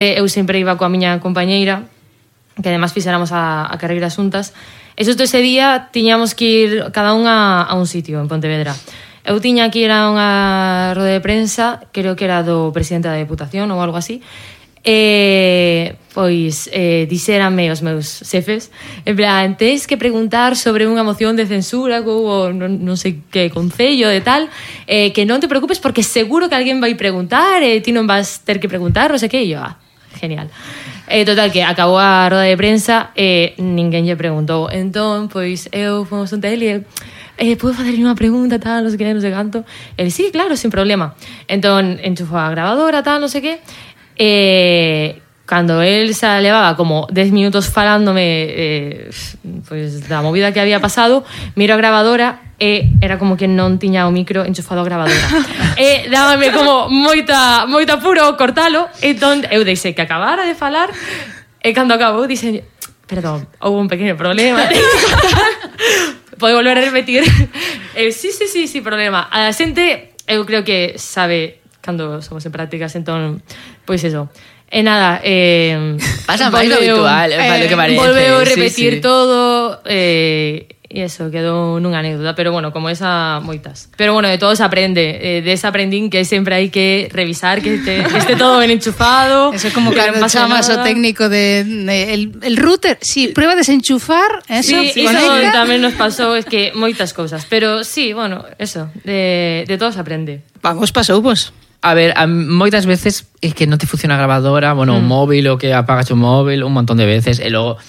Eu sempre iba coa miña compañeira, que además fixéramos a carreira xuntas, e xusto ese día tiñamos que ir cada unha a un sitio en Pontevedra. Eu tiña que ir a unha roda de prensa, creo que era do presidente da Deputación ou algo así, pois dixérame os meus xefes, en plan, tens que preguntar sobre unha moción de censura que houve non sei que concello de tal, que non te preocupes porque seguro que alguén vai preguntar e ti non vas ter que preguntar, non sei que, e eu, genial. Total, que acabou a roda de prensa e ninguén lle preguntou. Entón, pois, eu fomos un tele e podo facerlle unha pregunta, tal, non sei que, non sei canto. Ele, sí, claro, sin problema. Entón, enchufou a grabadora, tal, non sei que. Cando él se levaba como 10 minutos falándome pues, da movida que había pasado, miro a grabadora e era como que non tiña o micro enchufado a grabadora. Dábame como moita apuro cortalo. Entón, eu deixei que acabara de falar e cando acabou dixen, perdón, houve un pequeno problema. Pode volver a repetir? Sí, problema. A xente, eu creo que sabe cando somos en prácticas, entón, pois eso. E nada, pasa máis lo habitual, lo que parece. Volveu a repetir todo, e eso, quedou nunha anécdota, pero bueno, como esa, moitas. Pero bueno, de todo se aprende, de esa aprendín que sempre hai que revisar, que esté todo ben enchufado. Eso é como cando chamas o técnico el router, sí, prueba de desenchufar, eso, sí, iso tamén nos pasou, es que moitas cousas, pero sí, bueno, eso, de todo se aprende. Vamos, pasou, vos. A ver, moitas veces é que non te funciona a grabadora, bueno, un móvil ou que apagas o móvil un montón de veces, e logo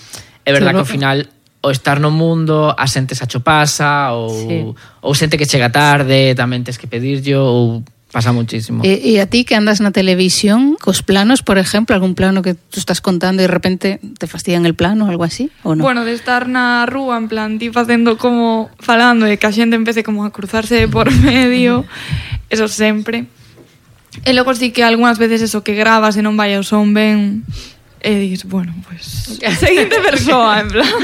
é verdad que ao final o estar no mundo a xente xa cho pasa ou xente que chega tarde tamén tes que pedirllo ou pasa muchísimo. E a ti que andas na televisión cos planos, por exemplo, algún plano que tú estás contando e de repente te fastidian el plano, algo así, ou non? Bueno, de estar na rúa, en plan, ti facendo como falando e que a xente empece como a cruzarse por medio, eso sempre. E logo sí que algunhas veces eso que grabas e non vai ao son ben e dis, bueno, pues seguinte persoa, en plan.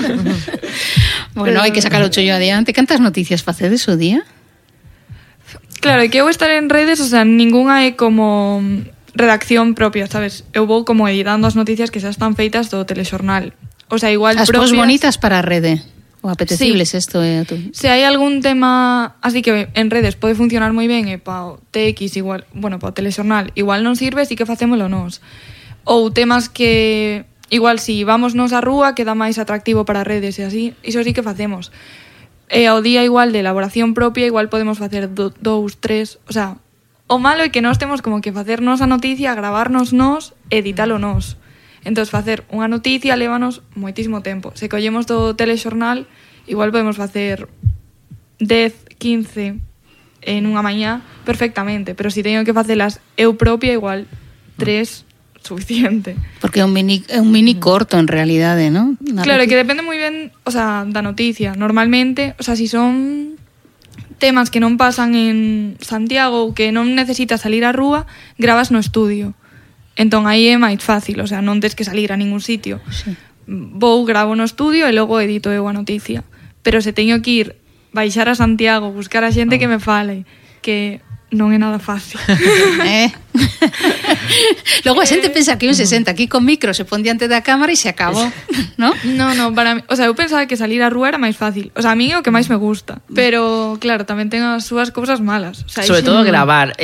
Bueno, hai que sacar o chollo adiante. Cantas noticias facedes o día? Claro, e que eu estar en redes, o sea, ninguna é como redacción propia, sabes? Eu vou como editando as noticias que xa están feitas do telexornal. O sea, igual as propias... As bonitas para a rede. O apetecibles, sí. Esto é... Se hai algún tema así que en redes pode funcionar moi ben e pa o TX igual, bueno, pa o telexornal igual non sirve, sí que facémolo nós. Ou temas que igual si vamos nos á rúa queda máis atractivo para redes e así, iso sí que facemos. E ao día igual de elaboración propia igual podemos facer 2, 3, o sea, o malo é que nós temos como que facernos a noticia, gravarnos nós, editalo nós. Entón, facer unha noticia lévanos moitísimo tempo. Se collemos do telexornal, igual podemos facer 10, 15 en unha mañá perfectamente, pero se teño que facelas eu propia, igual 3 suficiente. Porque é un mini corto en realidade, ¿no? Claro, que depende moi ben, o sea, da noticia. Normalmente, o sea, si son temas que non pasan en Santiago ou que non necesitas salir á rúa, gravas no estudio. Entón aí é máis fácil, o sea, non tens que salir a ningún sitio. Sí. Vou, gravo no estudio e logo edito eu a noticia. Pero se teño que ir, baixar a Santiago, buscar a xente que me fale, que non é nada fácil. Logo a xente pensa que un se senta aquí con micro, se pon diante da cámara e se acabou, ¿no? No, para mí, o sea, eu pensaba que salir á rúa era máis fácil. O sea, a mí é o que máis me gusta. Pero, claro, tamén ten as súas cousas malas. O sea, sobre todo gravar...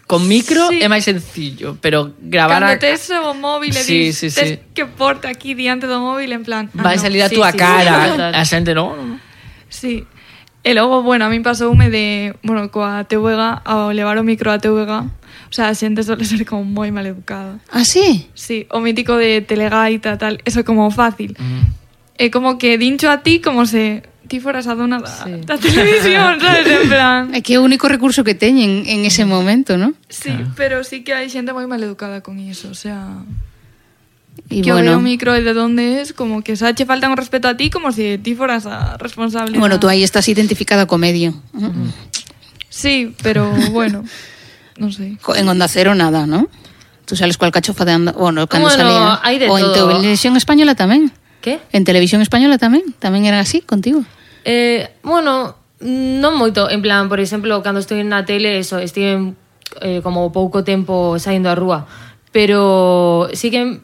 Con micro sí. É máis sencillo, pero gravar... Cando tes o móvil e dis, tes que porte aquí diante do móvil en plan... Vai salir a túa cara, a xente non? Sí. E logo, bueno, a mí pasoume de... Bueno, coa TVG, ao levar o micro a TVG, o sea, a xente suele ser como moi mal educada. Ah, sí? Sí, o mítico de telegaita, tal, eso como fácil. É como que dincho a ti como se... ti foras a dona da televisión, sabes, en plan... É que é o único recurso que teñen en ese momento, ¿no? Sí, pero sí que hai xente moi maleducada con iso, o sea... Y que bueno, o micro de donde es, como que xa che faltan o respeto a ti como se ti foras a responsable. Bueno, tú aí estás identificada co medio. Sí, pero bueno, non sei. En Onda Cero nada, ¿no? Tú sales cual cachofa de Onda... Bueno, cando salía... Hai de o en todo. Televisión Española tamén. ¿Qué? En Televisión Española tamén eran así contigo. Bueno, non moito, en plan, por exemplo, cando estou na tele, eso, estive como pouco tempo saindo á rúa. pero sí que